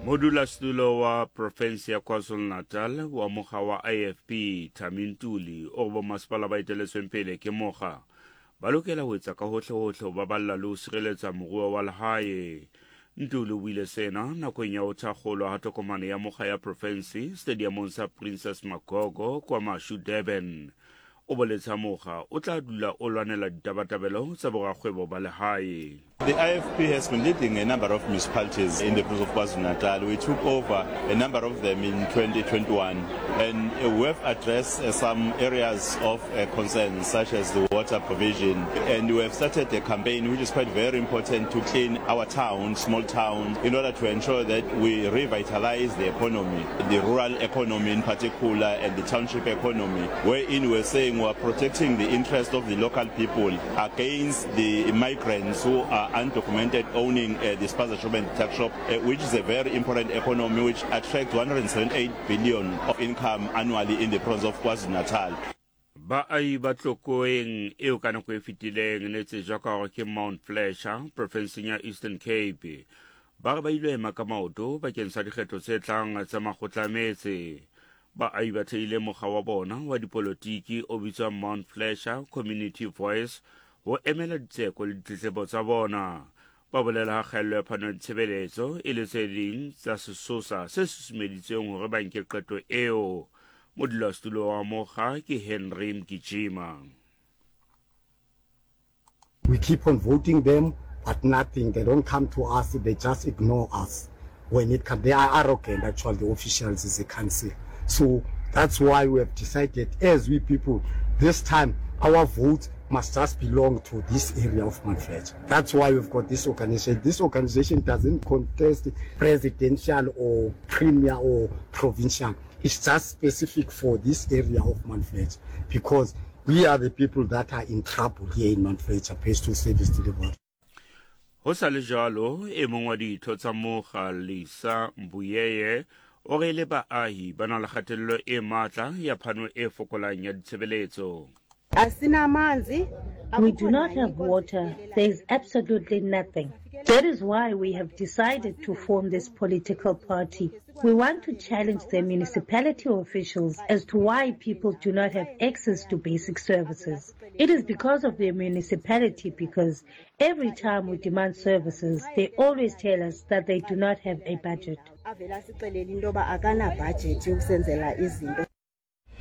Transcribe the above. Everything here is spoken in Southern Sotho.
Modulasetulo wa profense ya KwaZulu-Natal wa mokga wa IFP, Thami Ntuli, o re bomasepala ba eteletsweng pele ke mokga ba lokela ho etsa ka hohlehohle ho baballa le ho sireletsa moruo wa lehae. Ntuli o buile sena nakong ya ho thakgolwa ha tokomane ya mokga ya profense stadiamong sa Princess Magogo kwa Mashu, Durban. O boletse ha mokga o tla dula o lwanela ditabatabelo tsa borakgwebo ba lehae. The IFP has been leading a number of municipalities in the province of KwaZulu-Natal. We took over a number of them in 2021 and we have addressed uh, some areas of uh, concern such as the water provision and we have started a campaign which is quite very important to clean our towns, small towns, in order to ensure that we revitalize the economy, the rural economy in particular and the township economy, wherein we're saying we are protecting the interest of the local people against the migrants who are undocumented owning uh, the spaza shop and the tuck shop, uh, which is a very important economy which attracts 178 billion of income annually in the province of KwaZulu-Natal. Baahi ba Tlokoeng eo ka nako e fetileng ne tsejwa ka hore ke Mount Fletcher profenseng ya Eastern Cape ba re ba ile ema ka maoto bakeng sa dikgetho tse tlang tsa makgotla a metse. Baahi ba thehile mokga wa bona wa dipolotiki o bitswang Mount Fletcher Community Voice ho emela ditseko le ditletlebo tsa bona. Ba bolela ha kgaello ya phano ya ditshebeletso e le tse ding tsa sesosa se susumeditseng hore ba nke qeto eo. Modulasetulo wa mokga ke Henry Mgijima. We keep on voting them but nothing, they don't come to us, they just ignore us when it comes. They are arrogant actually, the officials as a council. So that's why we have decided as we people, this time our vote must just belong to this area of Mount Fletcher. That's why we've got this organization. This organization doesn't contest presidential or premier or provincial. It's just specific for this area of Mount Fletcher because we are the people that are in trouble here in Mount Fletcher based to service delivery. Ho sa le jwalo, e mong wa ditho tsa mokga Lisa Mbuyeye o re le baahi ba na le kgatello e matla ya phano e fokolang ya ditshebeletso. We do not have water. There is absolutely nothing. That is why we have decided to form this political party. We want to challenge the municipality officials as to why people do not have access to basic services. It is because of the municipality because every time we demand services, they always tell us that they do not have a budget.